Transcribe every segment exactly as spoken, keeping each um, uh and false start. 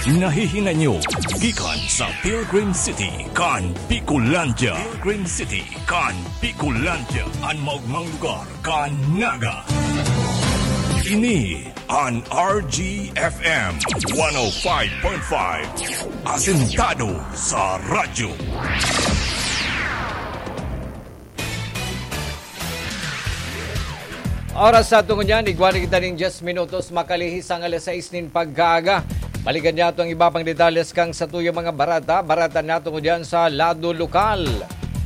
Nahihinay nyo gikan sa Pilgrim City kan Bicolandia. Pilgrim City kan Bicolandia, an maogmang lugar kan Naga. Ini an R G F M one oh five point five, asentado sa radyo. Oras sa tungod niyan, igwa na kita ning diyes minutos makalihis ang alas sais nin pagkaaga. Balikan niya itong iba pang detalles kan satuyang mga bareta. Bareta na tungod yan sa lado lokal.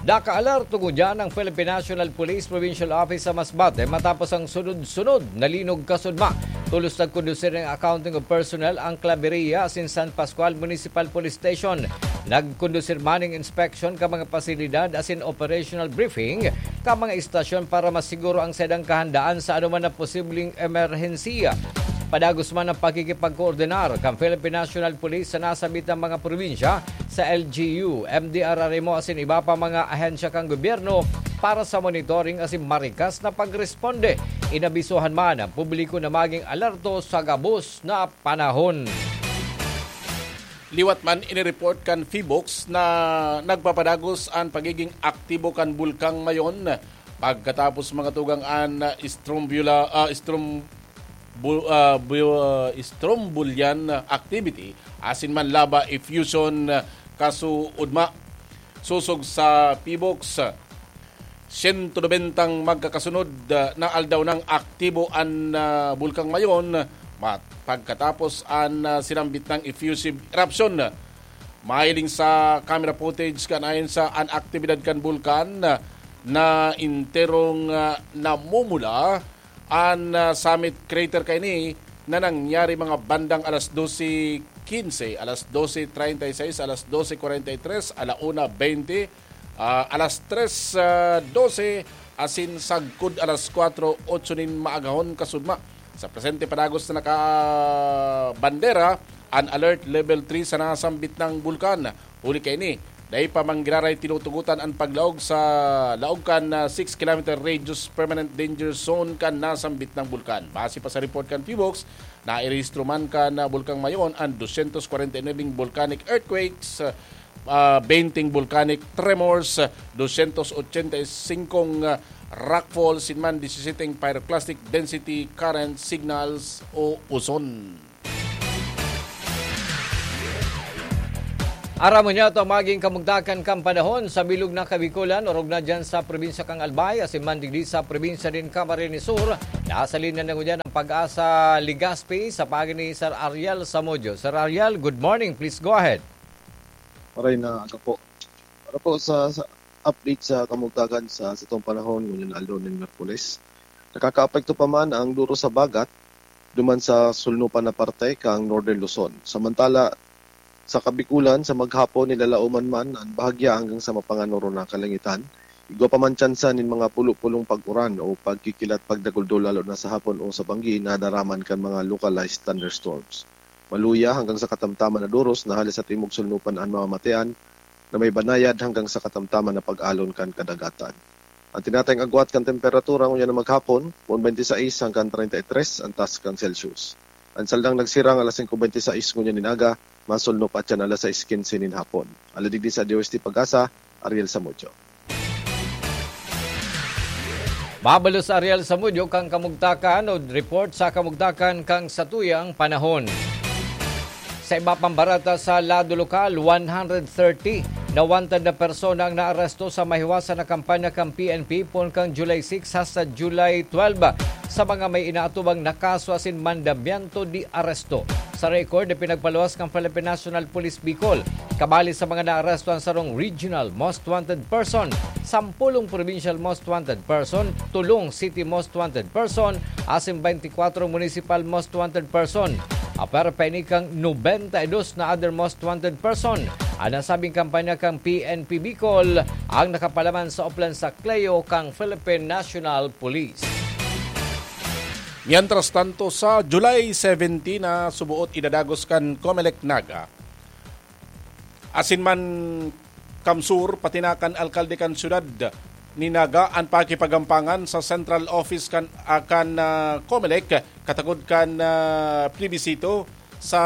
Naka-alerto ngunyan ang Philippine National Police Provincial Office sa Masbate matapos ang sunod-sunod na linog kasudma. Tolos nagkondusir nin accounting of personnel ang Claveria asin San Pascual Municipal Police Station. Nagkondusir man nin inspeksyon kan mga pasilidad asin operational briefing kan mga istasyon para masiguro ang saindang kahandaan sa anoman na posibleng emerhensiya. Padagos man ang pakikipagkoordinar kan Philippine National Police sa nasambit na mga probinsya, sa L G U, M D R R M O asin iba pa mga ahensya kan gobyerno para sa monitoring asin marikas na pagresponde. Inabisohan man ang publiko na maging alerto sa gabos na panahon. Liwat man, inireport kan PHIVOLCS na nagpapadagos an pagiging aktibo kan Bulkang Mayon pagkatapos mga tugang an strombula-, ah, strom-, bu-, ah, bu-, ah, strombolian activity asin man lava effusion kasuodma. Sosog sa PHIVOLCS, siyento nobentang magkakasunod, ah, na aldaw nang aktibo an, ah, Bulkang Mayon mat-, pagkatapos an, ah, sinambit nang effusive eruption. Mahiling sa camera footage kan ayon sa an aktibidad kan bulkan, ah, na enterong, ah, namumula an, ah, summit crater kaini na nangyari mga bandang alas dose quince, alas dose treinta y seis, alas dose cuarenta y tres, ala una beinte, ah, alas tres, ah, dose, asin sagkod alas kwatro otso nin maagahon kasudma. Sa presente, padagos na nakabandera an Alert Level three sa nasambit na bulkan. Huli kaini, dai pa manggiraray tinutugotan an paglaog sa laog kan, ah, six kilometer radius permanent danger zone kan nasambit na bulkan. Base pa sa report kan PHIVOLCS, nairehistro man kan, ah, Bulkang Mayon an dosyentos kwarenta y nuwebeng volcanic earthquakes, ah, benteng volcanic tremors, dosyentos ochenta y singkong, ah, rockfalls, asin man disisiyeteng pyroclastic density current signals o uson. Aram mo niya ito, maging kamugtakan kan panahon sa bilog na Kabikolan, orog na dyan sa probinsya kan Albay, asin man digdi sa probinsya nin Camarines Sur. Nasa linya na ngunyan ang Pag-asa Legazpi sa paagi ni Sir Ariel Samudio. Sir Ariel, good morning. Please go ahead. Maray na aga po. Para po sa, sa update sa kamugtakan sa satong panahon ngunyan aldaw nin Miyerkules, nakakaapekto pa man ang duro sa bagat duman sa sulnupan na parte kang Northern Luzon. Samantala, sa Kabikulan, sa maghapon, nilalaoman man an bahagya hanggang sa mapanganoro na kalangitan. Igwa pa man tsansa nin mga pulo-pulong pag-uran o pagkikilat pagdaguldol, lalo na sa hapon o sa banggi, na daraman kan mga localized thunderstorms. Maluya hanggang sa katamtaman na doros na hali sa timog sulnupan an mamamatean, na may banayad hanggang sa katamtaman na pag-alon kan kadagatan. Ang tinatayong agwat kan temperatura ngunyan na maghapon, poon twenty-six hanggang thirty-three an taas kan Celsius. Ang saldang nagsirang alas singko bente sais ngunyan nin aga, masulno pa tiyan alas sais quince nin hapon. Alagad digdi sa D O S T Pag-asa, Ariel Samudio. Mabalos Ariel Samudio kan kamugtakan o report sa kamugtakan kan satuyang panahon. Sa iba pang bareta sa lado lokal, one hundred thirty na wanted na persona ang naaresto sa mahiwasan na kampanya kan P N P poon kan July six hasta July twelve sa mga may inaatubang na kaso asin mandamiento de arresto. Sa record na pinagpaluwas kan Philippine National Police Bicol, kabali sa mga naaresto ang sarong regional most wanted person, sampulong provincial most wanted person, tolong city most wanted person, asin twenty-four municipal most wanted person. Apwera pa ini kan nobenta y dos na other most wanted person. An nasabing kampanya kan P N P Bicol ang nakapalaman sa Oplan sa Cleo kan Philippine National Police. Mientras tanto, sa July seventeen na suboot idadagos kan Comelec Naga, asin man CamSur, pati na kan alkalde kan siyudad ni Naga an pakipagampangan sa central office kan, ah, kan, ah, Comelec, katagod kan, ah, plebisito sa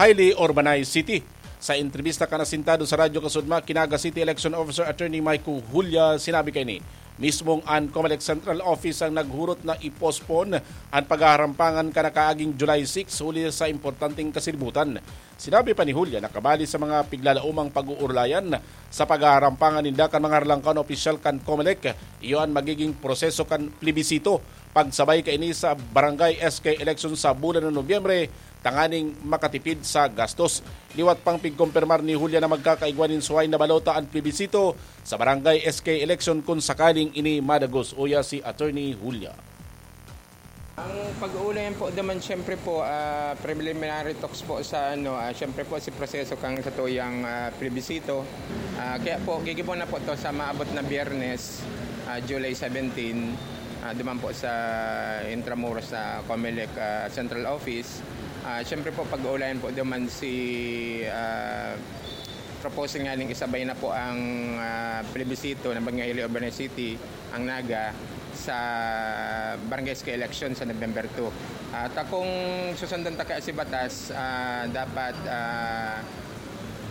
highly urbanized city. Sa entrebista kan asintado sa Radyo Kasudma ki Naga City Election Officer Attorney Mike Julia, sinabi kaini, mismong an Comelec Central Office ang naghurot na i-postpone an paghaharampangan kan nakaaging July six huli sa importanteng kasiributan. Sinabi pa ni Julia na kabali sa mga piglalaomang pag-uurulayan sa paghaharampangan ninda kan mga harlangkaw na opisyal kan Comelec, iyo an magiging proseso kan plebisito pagsabay kaini sa barangay S K election sa bulan ng Nobyembre, tanganing makatipid sa gastos. Liwat pang pigkumpirmar ni Julia na magkakaigwa nin suhay na balota an plebisito sa barangay S K election kun sakaling ini madagos. Uya si Attorney Julia. Ang pag-uulayan po naman, siyempre po, ah, preliminary talks po sa ano, ah, siyempre po si proseso kang sa tuyang, ah, plebisito. Ah, kaya po, gigibon na po to sa maabot na Biyernes, ah, July seventeen, ah, duman po sa Intramuros sa Comelec, ah, Central Office. Ah, siyempre po, pag-uulayan po duman si, ah, proposal nga ning isabay na po ang, ah, plebisito ng Barangay Urban City, ang Naga, sa Barangay S K election sa November two. At kung susundan ta kaya si batas, ah, dapat, ah,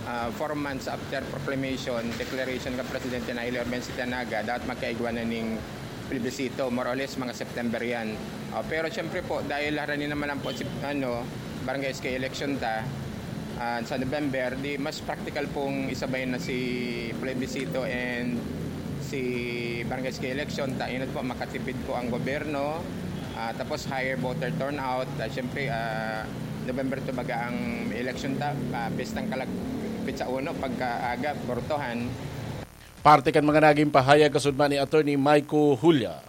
ah, four months after proclamation, declaration kan Presidente na Urban City ang Naga, dapat magkaigwa na ning plebisito, more or less mga September yan. Oh, pero siyempre po, dahil harani naman lang po si, ano, Barangay S K election ta, ah, sa November, di mas practical pong isabay na si plebisito and si Barangay S K election ta, inot po, makatipid po ang gobyerno, ah, tapos higher voter turnout. Ah, siyempre, ah, November two baga ang election ta, ah, pistang kalag-, pitsa uno, pagkaaga, bortohan. Parte kan mga naging pahayag kasudma ni Attorney Mike Julia.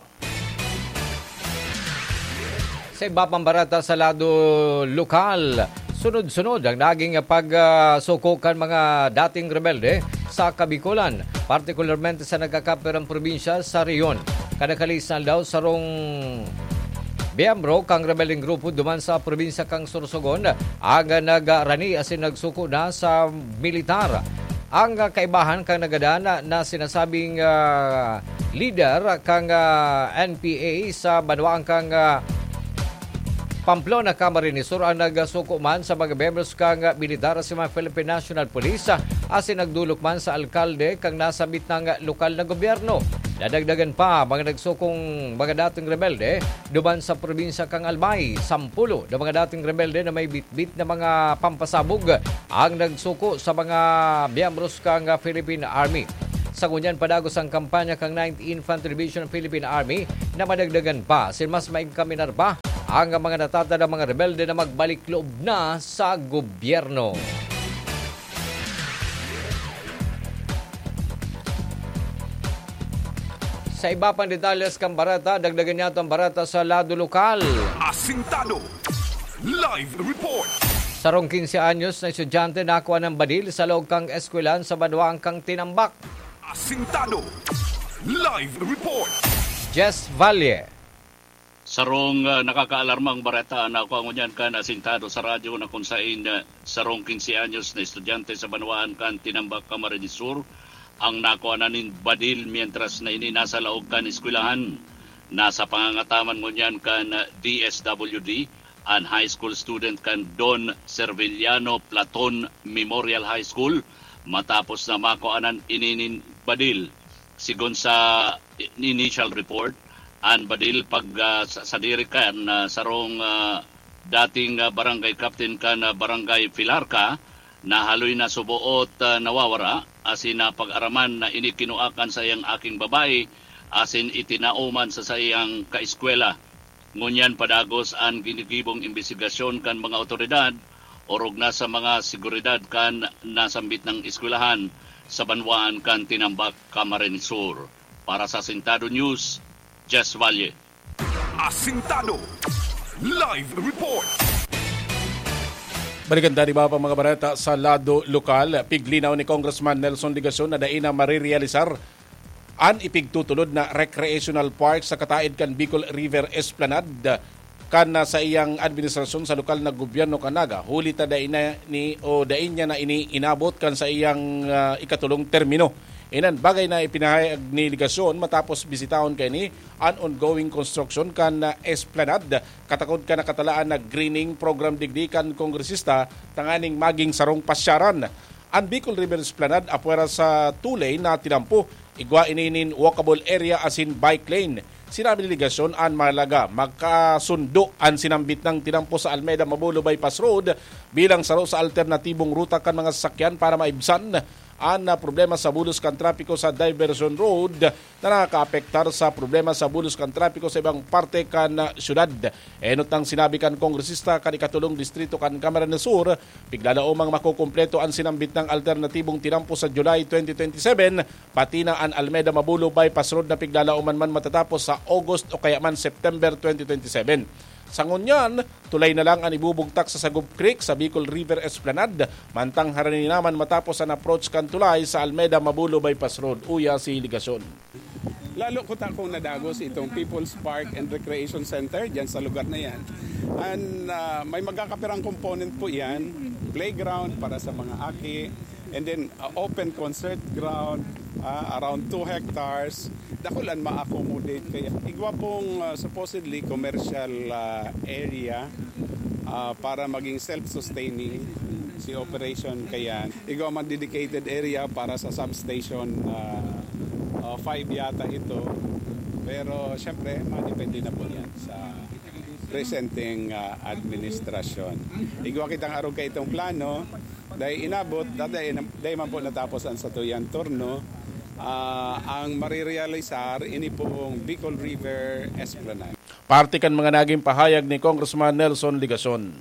Sa iba pang bareta sa lado lokal, sunod-sunod ang naging pagsuko kan mga dating rebelde sa Kabikolan, partikularmente sa nagkakapirang probinsya sa rehiyon. Kada kalisnal daw, sarong miyembro kan rebeldeng grupo duman sa probinsya kan Sorsogon ang nagrani asin nagsuko na sa militar. Ang kaibahan kan nagadan na sinasabing, ah, lider kan, ah, N P A sa banwaan kan, ah, Pamplona, Camarines Sur ang nagsuko man sa mga miyembros kan, ah, militar sa mga Philippine National Police, ah, asin nagdolok man sa alkalde kan nasambit na lokal na gobyerno. Nadagdagan pa mga nagsukong mga dating rebelde duman sa probinsya kan Albay. Sampulo na mga dating rebelde na may bitbit na mga pampasabog ang nagsuko sa mga miyembros kan Philippine Army. Sa ngunyan, padagos ang kampanya kan Ninth Infantry Division Philippine Army na madagdagan pa asin mas maingkaminar pa ang mga natatandang mga rebelde na magbalik loob na sa gobyerno. Sa iba pang detalles kan bareta, dagdagan niya itong bareta sa lado lokal. Asintado. Live report. Sarong quince anyos na estudyante nakua nin badil sa laog kan eskwelahan sa banwaan kan Tinambac. Asintado. Live report. Jess Valle. Sarong, ah, nakakaalarmang bareta na kung ngunyan kan asintado sa radyo na kung sain, ah, sarong quince anyos na estudyante sa banwaan kan Tinambac, Camarines Sur, ang nakuha na nin badil mientras na ini nasa laog kan eskwelahan. Nasa pangangataman ngunyan kan, ah, D S W D, an high school student kan Don Serviliano Platon Memorial High School, matapos na makuanan ini nin badil. Sigon sa initial report, an badil pag, ah, sa, sadiri kan, ah, sarong, ah, dating, ah, barangay captain kan, ah, barangay Filarca, nahaloy na suboot, ah, nawawara, asin napag-araman na ini kinua kan saiyang aking babae, asin itinao man sa saiyang kaeskwela. Ngunyan padagos an ginigibong imbestigasyon kan mga awtoridad, orog na sa mga seguridad kan nasambit na eskwelahan sa banwaan kan Tinambac, Camarines Sur. Para sa Asintado News, Jess Valle. Asintado. Live report. Balikan ta an iba pang mga bareta sa lado lokal. Piglinaw ni Congressman Nelson Legacion na dai na marirealisar an ipigtutulod na recreational park sa kataed kan Bicol River Esplanade kan, ah, sa iyang administrasyon sa lokal na gobyerno kan Naga, huli ta dai na ni, o dai niya na ini inabot kan sa iyang, ah, ikatulong termino. Inan bagay na ipinahayag ni Legacion matapos bisitahon kaini an ongoing construction kan Esplanade, katakod kan nakatalaan na greening program digdi kan kongresista tanganing maging sarong pasyaran. An Bicol River Esplanade apwera sa two-lane na tinampo, igwa ini nin walkable area asin bike lane. Sinabi ni Legacion an mahalaga, makasundo an sinambit nang tinampo sa Almeda Mabulo Bypass Road bilang saro sa alternatibong ruta kan mga sasakyan para maibsan an, ah, problema sa bulos kan trapiko sa Diversion Road na nakakaapektar sa problema sa bulos kan trapiko sa ibang parte kan, ah, syudad. Enot nang sinabi kan kongresista kan ikatulong distrito kan Camarines Sur, piglalaomang makukumpleto an sinambit nang alternatibong tinampo sa July twenty twenty-seven, pati na an Almeda Mabulo Bypass Road na piglalaoman man matatapos sa August o kaya man September twenty twenty-seven. Sa ngunyan, tulay na lang an ibubugtak sa Sagub Creek sa Bicol River Esplanade, mantang harani naman matapos an approach kan tulay sa Almeda Mabulo Bypass Road, uya si Legacion. Lalo ko ta kung nadagos itong People's Park and Recreation Center dyan sa lugar na yan. And ah, may magkakapirang component po yan, playground para sa mga aki, and then ah, open concert ground, ah, around two hectares. Dakulan ma-accommodate kaya. Igwa pong ah, supposedly commercial ah, area ah, para maging self-sustaining si operation kaya. Igwa man dedicated area para sa substation ah, ah, five yata ito. Pero siyempre, madepende na po yan sa presenteng ah, administrasyon. Igwa kitang arog ka itong plano, dahil inabot, dahil, dahil man po natapos ang satuyang turno, ah, ang marirealisar, ini pong Bicol River Esplanade. Parte kan mga naging pahayag ni Congressman Nelson Legacion.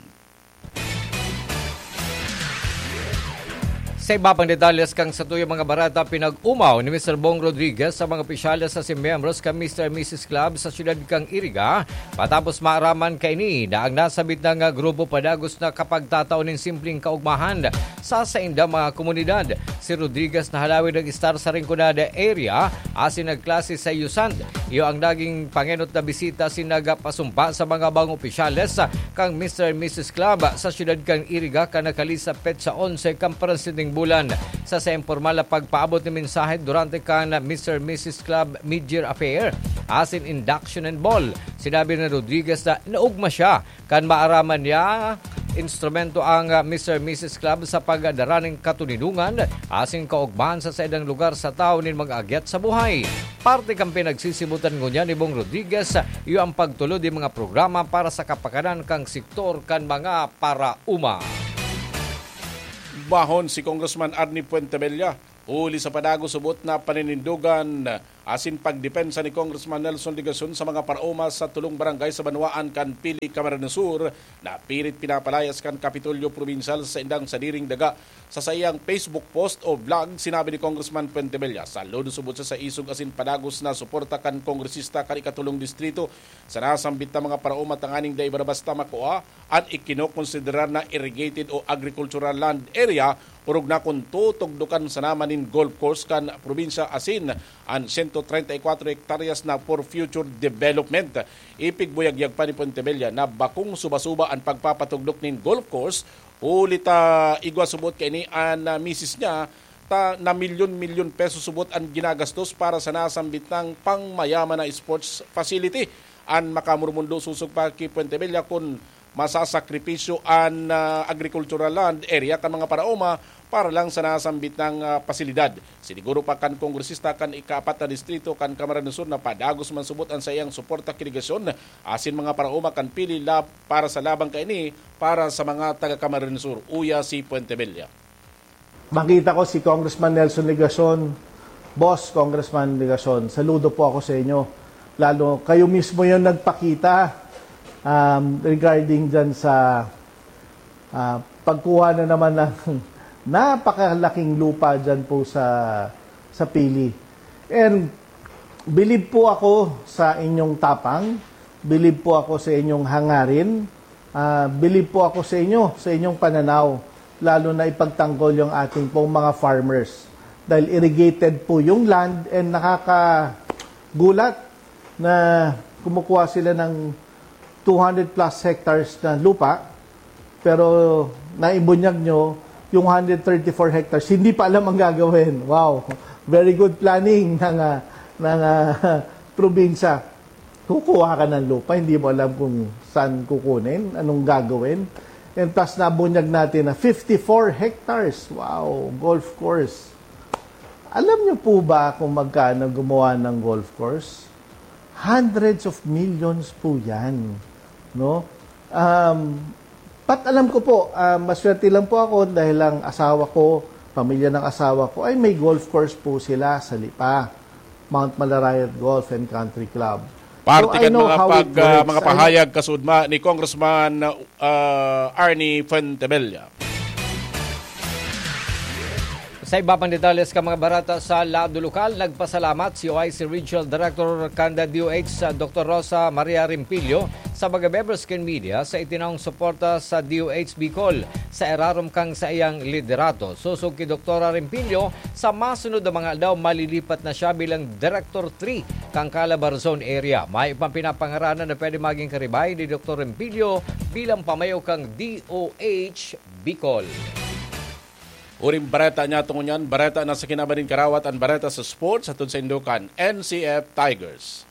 Sa iba pang detalles kan satuyang mga bareta, pinag-umaw ni Mister Bong Rodriguez sa mga opisyales asin miyembros kan Mister and Missus Club sa siyudad kan Iriga, matapos maaraman kaini na ang nasabit na nga grupo padagos na kapagtatao nin simpleng kaugmahan sa saindang mga komunidad. Si Rodriguez na halawig nag-estar sa Rinconada area asin nagklase sa USAND. Iyo ang naging pangenot na bisita asin nagpasumpa sa mga bangong opisyales kan Mister and Missus Club sa siyudad kan Iriga kan nakalihis na petsa onse kan presenteng bulan. Sa saiyang pormal na pagpaabot nin mensahe durante kan Mister and Missus Club Mid-Year Affair asin Induction and Ball, sinabi ni Rodriguez na naugma siya kan maaraman niya instrumento ang Mister and Missus Club sa pagdara nin katoninongan asin kaugmahan sa saindang lugar sa tawo nin mag-agyat sa buhay. Parte kan pinagsisibutan ngunyan ni Bong Rodriguez, iyo ang pagtulod nin mga programa para sa kapakanan kan sektor kan mga paraoma. Bahon si Congressman Arnie Fuentebella huli sa padagos subot na paninindogan asin pagdepensa ni Congressman Nelson Legacion sa mga paraoma sa tulong barangay sa banwaan kan Pili, Camarines Sur, na pirit pinapalayas kan Kapitolyo Probinsyal sa saindang sadiring daga. Sa saiyang Facebook post o vlog, sinabi ni Congressman Fuentebella, saludo subot sa isog asin padagos na suporta kan kongresista kan ikatulong distrito sa nasambit na mga paraoma tanganing dai basta-basta makua an ikinokonsiderar na irrigated o agricultural land area, orog na kun tutugdokan sana man nin golf course kan probinsya asin an sento treinta y cuatro hektaryas na for future development. Ipigbuyagyag pa ni Fuentebella na bakong suba-suba an pagpapatugdok nin golf course huli ta igwa subot kaini an, ah, misis niya ta na milyon-milyon pesos subot an ginagastos para sa nasambit nang pangmayaman na sports facility. An makamurmundo sosog pa ki Fuentebella kun masasakripisyo an, ah, agricultural land area kan mga paraoma para lang sa nasambit nang, ah, pasilidad. Siniguro pa kan kongresista kan ikaapat na distrito kan Camarines Sur na padagos man subot an saiyang suporta ki Legacion asin mga paraoma kan Pili lab-, para sa labang kaini para sa mga taga Camarines Sur, uya si Fuentebella. Makita ko si Congressman Nelson Legacion. Boss, Congressman Legacion, saludo po ako sa inyo. Lalo, kayo mismo yung nagpakita, um, regarding dyan sa, ah, pagkuha na naman ng napakalaking lupa dyan po sa, sa Pili. And believe po ako sa inyong tapang, believe po ako sa inyong hangarin, ah, believe po ako sa inyo, sa inyong pananaw, lalo na ipagtanggol yung ating pong mga farmers. Dahil irrigated po yung land and nakakagulat na kumukuha sila ng two hundred plus hectares na lupa, pero naibunyag nyo yung hundred thirty-four hectares, hindi pa alam ang gagawin. Wow! Very good planning ng, ah, ng, ah, probinsya. Kukuha ka ng lupa, hindi mo alam kung saan kukunin, anong gagawin. And tas nabunyag natin na fifty-four hectares. Wow, golf course. Alam niyo po ba kung magkano gumawa ng golf course? Hundreds of millions po yan, no? Um, pat alam ko po, ah, maswerte lang po ako dahil ang asawa ko, pamilya ng asawa ko, ay may golf course po sila sa Lipa, Mount Malarayat Golf and Country Club. So, Parte I kan know mga how pag, it ah, works. mga I know pahayag kasudma ni Congressman ah, Arnie Fuentebella. Sa iba pang detalles kan mga bareta sa lado lokal, nagpasalamat si O I C Regional Director kan D O H, Doctor Rosa Maria Rimpillo, sa mga members kan media sa itinawong suporta sa D O H Bicol sa irarom kan saiyang liderato. Sosog ki Doktora Rimpillo, sa masunod na mga aldaw, malilipat na siya bilang Director three kan Calabar Zone Area. May pang pinapangaranan na pwede maging karibay ni Doktor Rimpillo bilang pamayo kan D O H Bicol. Huring bareta niya tungo niyan, bareta na sa kinaban nin karawat, an bareta sa sports, hatod saindo kan N C F Tigers.